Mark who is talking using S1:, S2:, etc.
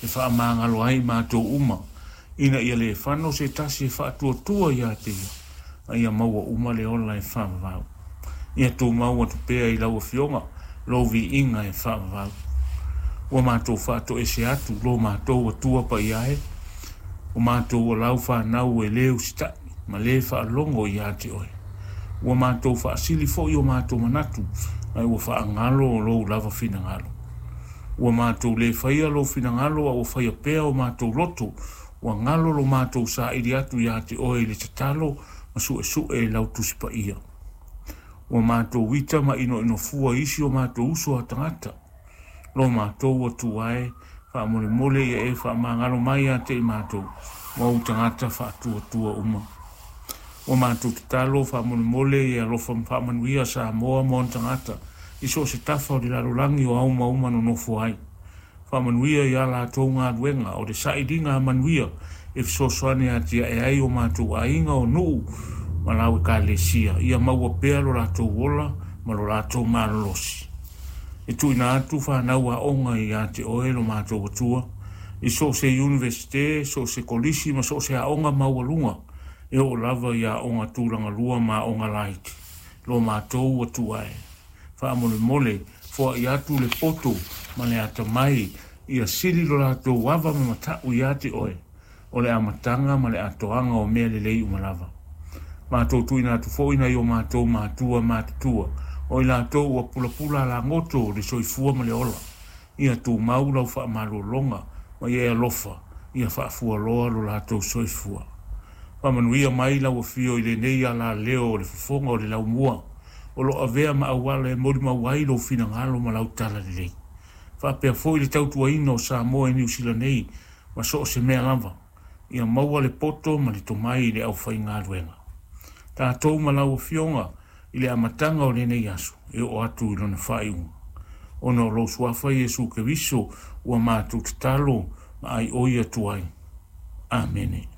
S1: e faamagalo ai matou uma, ina ia le fano se tasi e faatuatua ia te ia, a ia maua uma le ola e faavavau. Ia tumau atu pea i lau Afioga lou viiga e faavavau. Ua matou faatoese atu lo matou Atua paia e, o matou o lau fanau e lē usitai ma lē faalogo ia te oe. Ua matou faasili foi o matou manatu, ae ua faagalo lou lava finagalo. Ua matou lē faia lou finagalo, a ua faia pea o matou loto, ua galo lo matou saili atu ia te oe i le tatalo ma suesue i lau Tusi Paia. Ua matou ita ma inoino fua i isi o matou uso a tagata. Lo matou Atua e, faamolemole ia e faamagalo mai ia te i matou, ma ou tagata faatuatua uma. Ua matou tatalo faamolemole ia alofa ma faamanuia Samoa ma ona tagata i so o se tafa o le lalolagi o auma uma nonofo ai. Faamanuia ia latou galuega o le sailiga manuia e fesoasoani atiae ai o matou aiga o nuu ma lau ekalesia, ia maua pea lo latou ola ma lo latou malolosi. E tuuina atu fanau aoga ia te oe lo matou Atua, i so o se iunivesite, so o se kolisi ma so o se aoga maualuga, e oo lava i aoga tulagalua ma aoga laiti. Lo matou Atua e, faamolemole foai atu le poto ma le atamai, ia sili lo latou ava ma matau ia te oe, o le amataga ma le atoaga o mea lelei uma lava. Matou tuuina atu foi nai o matou matua matutua, o i latou ua pulapula lagoto le soifua ma le ola, ia tumau lau faamalologa ma ia e alofa, ia faafualoa lo latou soifua. Faamanuia mai lau afio i lenei alaleo o le fofoga o le laumua, o lo avea ma auala e molimau ai lou finagalo ma lau talalelei. Faapea foi le tautuaina o Samoa i Niu Sila nei ma so o se mea lava, ia maua le poto ma le tomai i le aufaigaluega. Tatou ma lau Afioga i le amataga o lenei aso e oo atu i lona faaiuga. Ona o lou suafa Iesu Keriso ua matou tatalo ma aioi atu ai. Amene.